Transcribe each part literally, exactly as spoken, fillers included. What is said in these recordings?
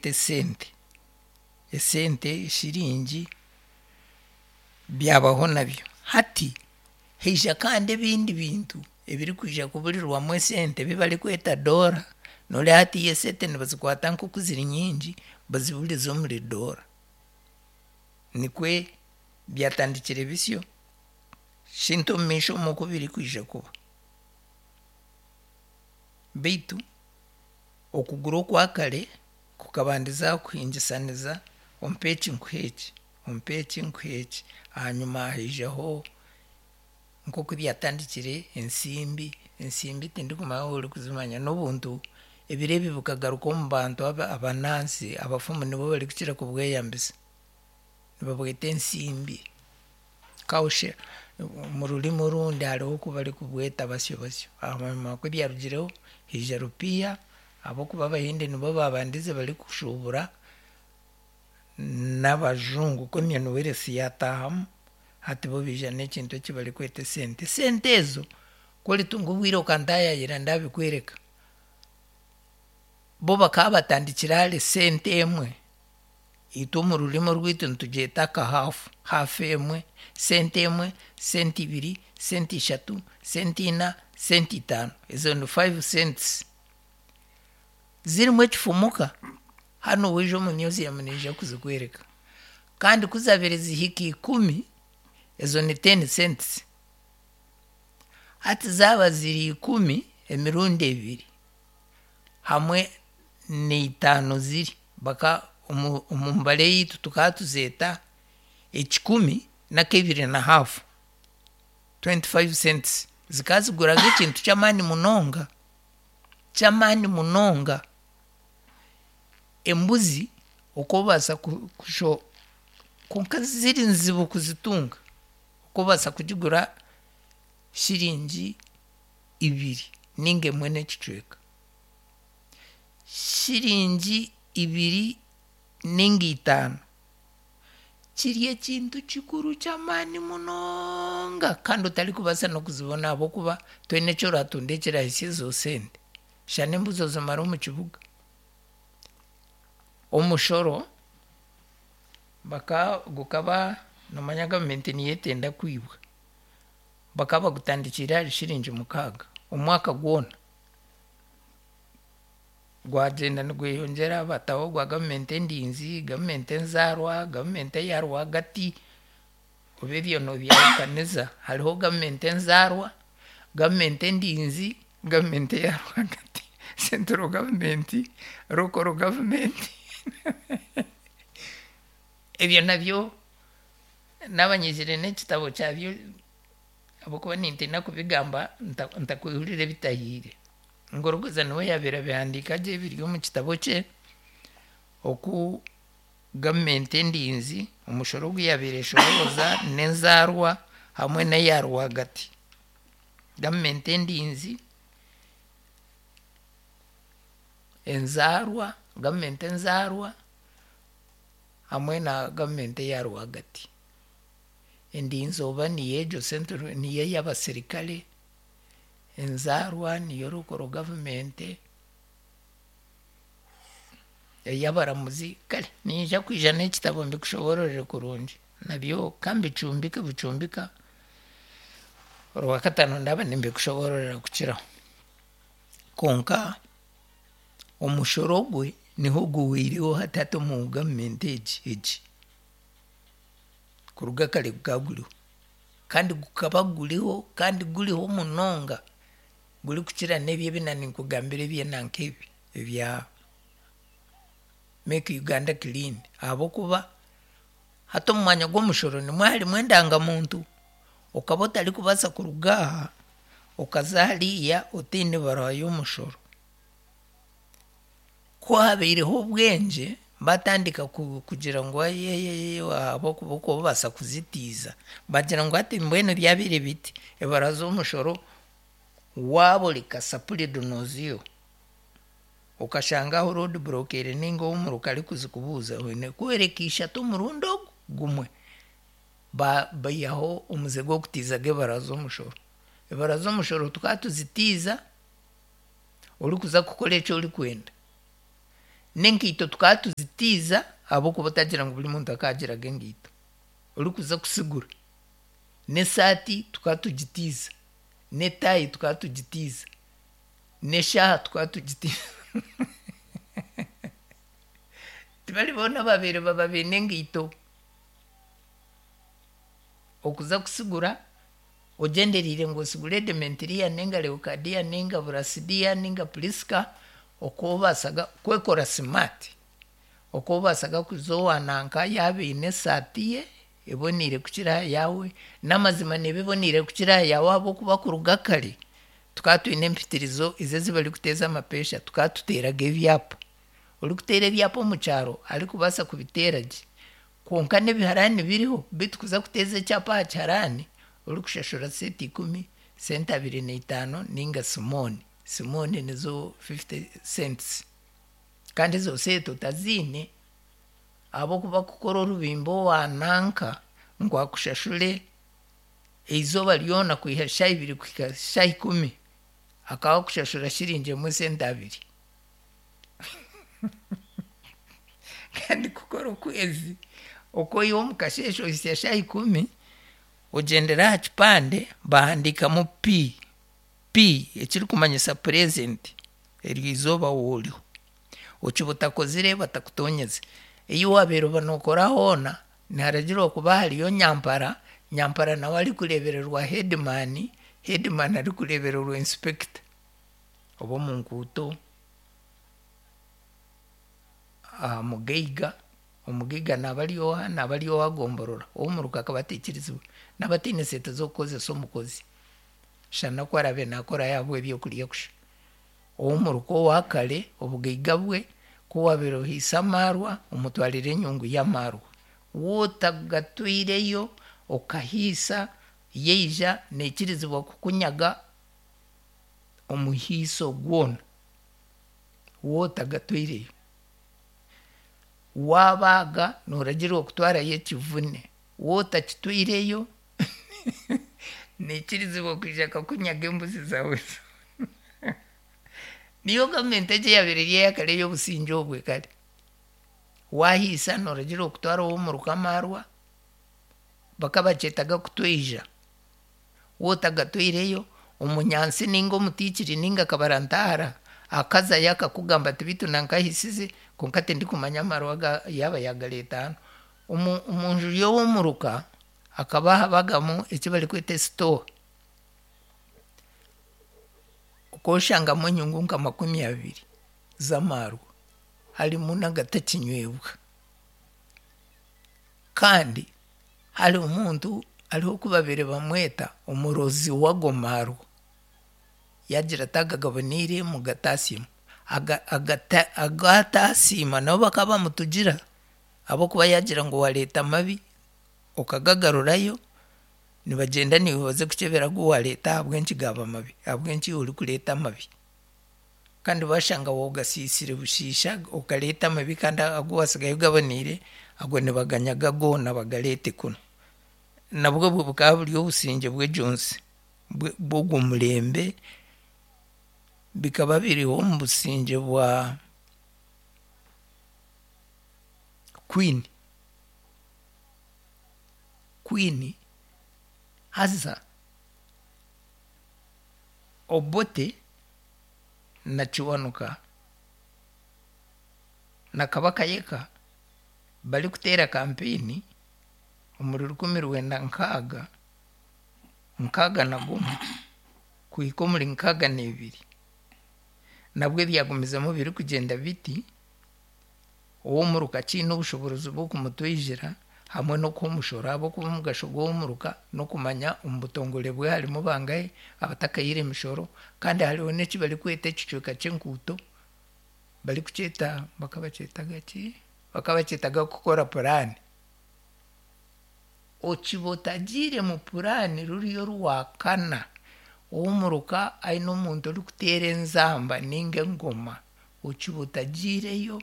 Barikweta esente, esente shiringi byabaho nabyo. Hati haija kandi ebindi bintu ebirikwija kuburirwamu esente ebi barikweta doora, nooreeba hatiiya esente nibazikwata nk'oku ziri nyingi baziburize omuri doora. Nikwe byatandikire bisyo, shintu omumaisho omu oku birikwija kuba. Beitu okugura okwa kare kukabandiza aha kuhingisaniza, ompe eki nkuhe eki, ompe eki nkuhe eki, ahanyima haijaho nk'oku byatandikire ensimbi, ensimbi tindikumanya waaba orikuzimanya, n'obuntu ebiro ebi bukagaruka omu bantu aba- abanansi, abafumu nibo barikukira kubweyambisa, nibabweta ensimbi, cowshell, omu rurimi orundi hariho oku barikubweta basyo basyo. Ahanyima kubyarugireho haija rupiiha ahabw'okuba Abahindi nibo baabandize barikushuubura n'abajungu Commonwealth yaataahamu, hati bo baija n'ekintu eki barikweta esente. Esente ezo ku oritunga obwire okantaayaayira ndaabikwereka. Bo bakaba batandikire ahari sente emwe, itwe omu rurimi orwitu nitugyeta akahaafu, haafu emwe, sente emwe, sente ibiri, sente ishatu, sente ina, sente itaano, ezo ni five cents. Zirimu ekifumuka, hanu waija omu museum niinyija kuzikwereka. Kandi ku zaabaire zihika ikumi, ezo ni ten cents. Hati zaaba ziri ikumi emirundi ebiri hamwe n'eitaano ziri, baka omu omu mbara eyaitu tukaba tuzeeta ekikumi n'akebiri na haafu, twenty five cents. Zikaba ziguraga ekintu ky'amaani munonga, ky'amaani munonga. Embuzi okoobaasa kusho kwonka ziri nzibu kuzitunga, okoobaasa kugigura shiringi ibiri ninga emwe n'ekicweka, shiringi ibiri ninga itaano, kiri ekintu kikuru ky'amaani munonga kandi otarikubaasa n'okuzibona ahabw'okuba toine eki oratunde ekirahisya ezo sente, shana embuzi ozimare omu kibuga. Omushoro baka gukaba noomanya gavumenti niyo etenda kwibwa, bakaba bagutandikiire ahari shiringi mukaaga omwaka gwona. Gwagyenda nigweyongyera bataho ogwa gavumenti endinzi, gavumenti enzaarwa, gavumenti eya rwagati, oba ebyo noobyahukaniza, hariho gavumenti enzaarwa, gavumenti endinzi, gavumenti eya rwagati, central government, local government ebyo nabyo naaba nyizire n'ekitabo kyabyo ahabw'okuba nintiina kubigamba nta- ntakwehurira ebitahiire. Ngorogoza niwe yaabiire abihandiika gye biri omu kitabo kye oku gavumenti endinzi omushoro ogu yaabiire eshorooza n'enzaarwa hamwe n'eya rwagati. Gavumenti endinzi, enzaarwa, gavumenti enzaarwa hamwe na gavumenti eya rwagati. Endinzi oba niyo egyo central niyo ey'abasirikare, enzaarwa niyo local government, ey'abaramuzi, kare niinyija kwija n'ekitabo mbikushoboororere kurungi nabyo kambicumbike bucumbika, Orwakataano ndaba nimbikushoboororera kukiraho. Konka omushoro gwe niho guhweireho hati hati omu gavumenti egi egi. Kuruga kare gukaba guriho kandi gukaba guriho kandi guriho munonga gurikukira n'ebi ebi naaninkugambira eby'enanka ebi ebya Make Uganda Clean ahabw'okuba hati omu mwanya gw'omushoro nimwo harimu endangamuntu, okaba otarikubaasa kuruga aha okaza hariya otaine baruha y'omushoro. Ku haabaireho obwengye batandika kugira ngu aye ahabw'okuba okoobaasa kuzitiiza, bagira ngu hati mbwenu byabaire biti, ebaruha z'omushoro waaba ori kasapuri donoziyo okashanga aho road block eri ninga ow'omuruka arikuzikubuuza oine kworeka ishatu omurundi ogu gumwe. Baihaho omuze gw'okutiizaga ebaruha z'omushoro. Ebaruha z'omushoro tukaba tuzitiiza orikuza kukora eki orikwenda. N'enkaito tukaba tuzitiiza ahabw'okuba otagira ngu buri muntu akagiraga enkaito orikuza kusigura. N'esaati tukaba tugitiiza, n'etaayi tukaba tugitiiza, n'eshaaha tukaba tugitiiza. Tibari boona ababaire baba baine enkaito. Okuza kusigura ogyendereire ngu osigure Demetiriya ninga Leokadiya ninga Burasidiya ninga Purisika, okwobasaga kwekora smart, okwobasaga kuza owa nanka yaaba eine esaati ye eboneire kukira aha yaawe, n'amazima neeba eboneire kukira aha yaawe ahabw'okuba kuruga kare tukaba twine empitirizo ezo ezi barikuteeza amapeesha, tukaba tuteeraga ebyapa. Orikuteera ebyapa omu kyaro arikubaasa kubiteera gye, kwonka n'ebiharaani biriho beitu kuza kuteeza ekyapa aha kiharaani orikushashura sente ikumi, sente abiri na itaano ninga simooni. Simooni nizo fifty cents. Kandi ezo sente otaziine ahabw'okuba kukora orubimba owa nanka ngu akushashure eizooba ryona kwiha shaaha ibiri kuhika shaaha ikumi, akaba akushashura shiringi emwe sente abiri. Kandi kukora okwezi okwoiha omu kasheeshe ohitsya shaaha ikumi, ogyendera aha kipande bahandiikamu P, P ekirikumanyisa present, eryo izooba wooriho. Okiba otakozire batakutonyeze. Ei waabaire oba nookora hoona niharagirwa kuba hariyo nyampara, nyampara nawe arikureebererwa headman, headman arikureebererwa inspector. Oba omu nkuuto, aha mugaiga, omugaiga naaba ari oha? Naaba ari owa gomborora, ow'omuruka akaba ataikirizibwa. Naaba ataine sente z'okukozesa omukozi, shana ku araabe naakora yaabwa ebyokurya kusha. Ow'omuruka owa kare obugaiga bwe ku waabaire ohiisa amaarwa omutwarira enyungu y'amaarwa. Wootagatwireyo okahiisa yaija naikirizibwa kukunyaga omuhiiso gwona wootagatwireyo. Waabaaga nooragirwa kutwarayo ekivune, wootakitwireyo naikirizibwa kwija akakunyaga embuzi zaawe zoona. Niyo gavumenti egi eyaabaire eri eya kare ey'obusingye obwe kare. Waahiisa nooragirwa kutwara ow'omuruka amaarwa, bakabakyetaga kutweija. Wootagatwireyo omunyansi ninga omutiikiri ninga kabarantahara akazayo akakugamba ati beitu nankahiisize kwonka tindikumanya amaarwa ga yaaba yaagareeta hanu. Omu omunju y'ow'omuruka hakaba habagamu eki barikweta esitowa. Okoshangamu enyungu nka makumi abiri z'amaarwa harimu n'agatakinywebwa. Kandi hariho omuntu hariho oku babaire bamweta omurozi w'ago maarwa. Yaagira ati aga gaboneire mugataasimu. Aga agata agu ataasiima nabo bakaba bamutugira ahabw'okuba yaagira ngu waareeta amabi okagagarurayo, nibagyenda niiwe baze kukyebera agu waareeta ahabw'enki gaaba mabi, ahabw'enki iwe orikureeta amabi. Kandi bashanga woogasiisire bushiisha okareeta amabi kandi agu waasigayo gaboneire, ago nibaganyaga goona bagareete kunu. Nabwo obwo bukaba buri obusingye bw'egyo nsi bw'ogwo murembe, bikaba biriho omu busingye bwa Queen. Queen haza Obote na Kiwanuka na Kabaka Yeka barikuteera kampeyini omuri rukumi rwenda nkaaga, nkaaga na gumwe kuhika omuri nkaaga n'ebiri, nabwe byagumizamu birikugyenda biti, ow'omuruka akiine obushoboorozi bw'okumutweijera hamwe n'okuha omushoro ahabw'okuba omugasho gw'ow'omuruka n'okumanya omu butongore bwe harimu bangahe abatakahiire emishoro kandi hariho n'eki barikweta ekicweka ky'enkuuto barikukyeta bakabakyetaga ki? Bakabakyetaga kukora puraani. Okiba otagiire mu puraani ruriyo rwakana, ow'omuruka aine omuntu orikuteera enzamba ninga engoma, okiba otagiireyo,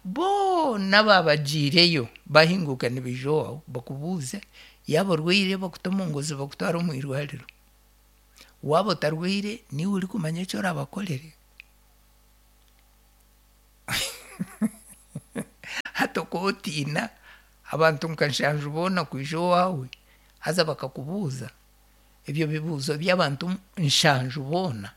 boona abaabagiireyo bahinguka nibaija owaawe bakubuuze yaaba orwaire bakute omu ngozi bakutware omu irwariro. Waaba otarwaire niiwe orikumanya eki orabakorere. Hati okootiina abantu nka nshanju boona kwija owaawe haza bakakubuuza ebyo bibuuzo by'abantu nshanju boona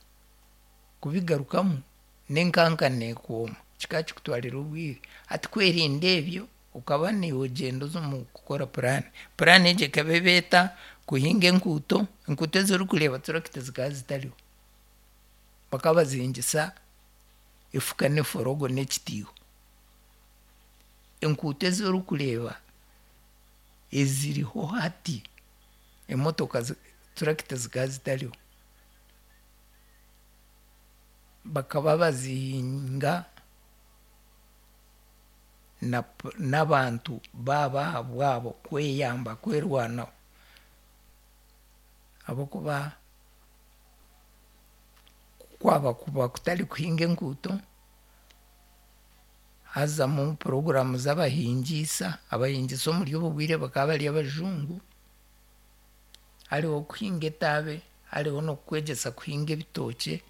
kubigarukamu n'enkanka neekwoma kikaba kikutwarira obwire. Hati kwerinda ebyo okaba niiwe ogyenda oza omu kukora puraani. Puraani egyo ekaba eba eta? Kuhinga enkuuto, enkuuto ezi orikureeba turakita zikaba zitariho. Bakaba bazihingisa efuka n'eforogo n'ekitiiho. Enkuuto ezi orikureeba eziriho hati, emotoka turakita zikaba zitariho. Bakaba bazihinga na n'abantu baabo ahabwabo kweyamba kwerwanaho ahabw'okuba kwaba kuba kutari kuhinga enkuuto, hazamu puroguraamu z'abahingiisa, abahingiisa omuri obu bwire bakaba bari abajungu, hariho kuhinga etaabe, hariho n'okukwegyesa kuhinga ebitookye,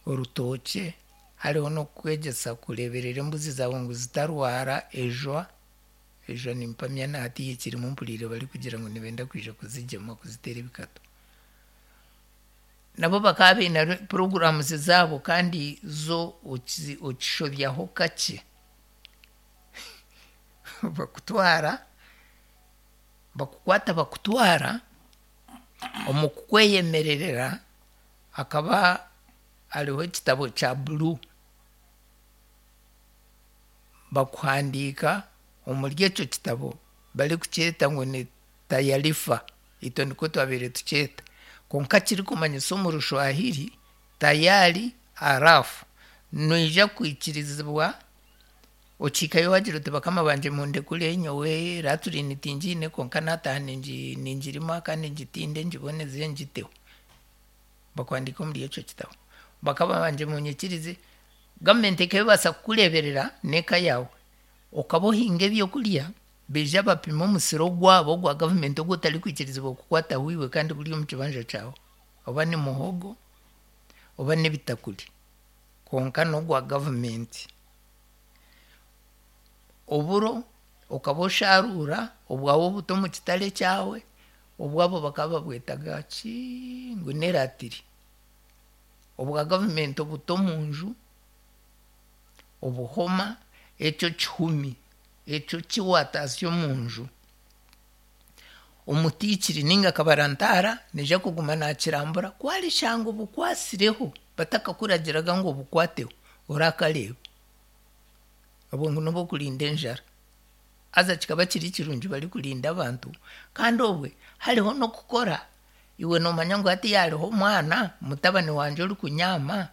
orutookye, hariho n'okukwegyesa kureeberera embuzi zaawe ngu zitarwara ejwa, ejwa nimpamya na hatiiya ekirimu mpuriire barikugira ngu nibenda kwija kuzigyema kuziteera ebikato. Nabo bakaba baine puroguraamu zaabo kandi zo okishobyaho kakye bakutwara, bakukwata bakutwara, omu kukweyemererera hakaba hariho ekitabo kya blue bakuhandiika omuri ekyo kitabo barikukyeta ngu ni tayarifa, itwe nikwo twabaire tukyeta kwonka kirikumanyisa omu Rushwahiri tayari arafu, noija kwikirizibwa okihikayo waagira oti bakama bangye mundekure nyowe raturini tingiine kwonka naataaha ningirima kandi ngitinde ngiboneze ngiteho. Bakuhandiika omuri ekyo kitabo. Bakama bangye munyikirize, gavumenti ekeebaasa kukureeberera n'eka yaawe, okaba ohinga ebyokurya baija bapima omusiri ogwabo ogwa gavumenti ogu otarikwikirizibwa kukwataho iwe kandi guri omu kibanja kyawe, oba ni muhogo oba n'ebitakuri kwonka n'ogwa gavumenti. Oburo okaba oshaaruura obwawe obuta omu kitare kyawe, obwabo bakaba babwetaga ki ngu n'eratiri. Obwa gavumenti obuta omu nju, obuhoma, ekyo kihumi ekyo ki waataasya omu nju, omutiikiri ninga kabarantaara naija kuguma naakirambura ku arishanga obukwasireho batakakuragiraga ngu obukwateho, orakareeba. Obwo ngu n'obw'okurinda enjara. Haza kikaba kiri kirungi barikurinda abantu kandi obwe hariho n'okukora iwe noomanya ngu hatiiya hariho omwana mutabani wangye orikunyaama,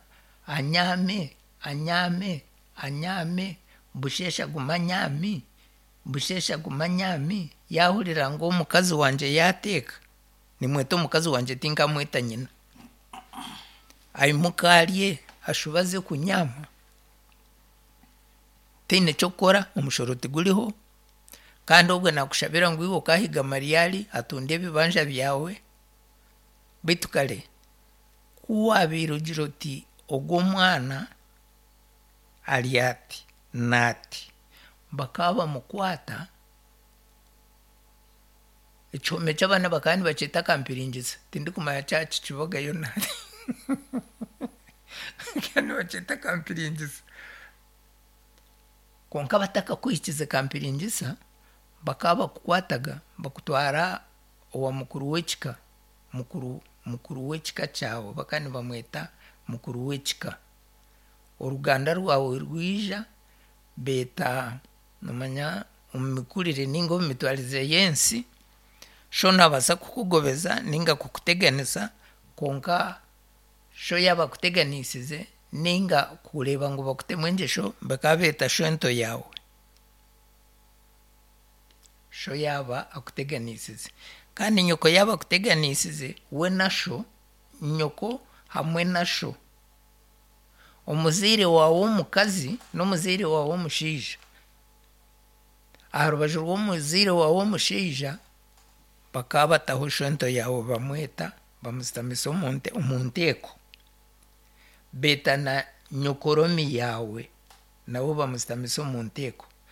anyaame, anyaame, anyaame, busheesha agume anyaami, busheesha agume anyaami, yaahurira ngu omukazi wangye yaateeka, nimweta omukazi wangye tinkamweta nyina, aimuke arye ashube aze kunyaama, taine ky'okukora, omushoro tiguriho kandi obwe naakushabira ngu iwe okaahiga mariyari atunde ebibanja byawe, beitu kare ku waabaire ogira oti ogu omwana ari ati n'ati, bakaba bamukwata, ekihome ky'abaana bakaba nibakyeta kampiringisa, tindikumanya kyaba kikibagayo nahati bakaba nibakyeta kampiringisa. Kwonka batakakuhikize kampiringisa, bakaba bakukwataga bakutwara owa mukuru w'ekika, mukuru mukuru w'ekika kyawe bakaba nibamweta mukuru w'ekika. Oruganda rwawe rwija beeta noomanya omu mikurire ninga omu mitwarize y'ensi, sho naabaasa kukugobeza ninga kukuteganisa kwonka sho yaaba akuteganisize ninga kureeba ngu bakutemu engyesho bakaba beeta shwento yaawe. Sho yaaba akuteganisize. Kandi nyoko yaaba akuteganisize, we na sho, nyoko hamwe na sho, omuzaire waawe w'omukazi n'omuzaire waawe w'omushaija, aha rubaju rw'omuzaire waawe w'omushaija bakaba bataho shwento yaawe bamweta bamusitamisa omu nte omu nteeko, beeta na nyokoromi yaawe. Nabo bamusitamise omu nteeko.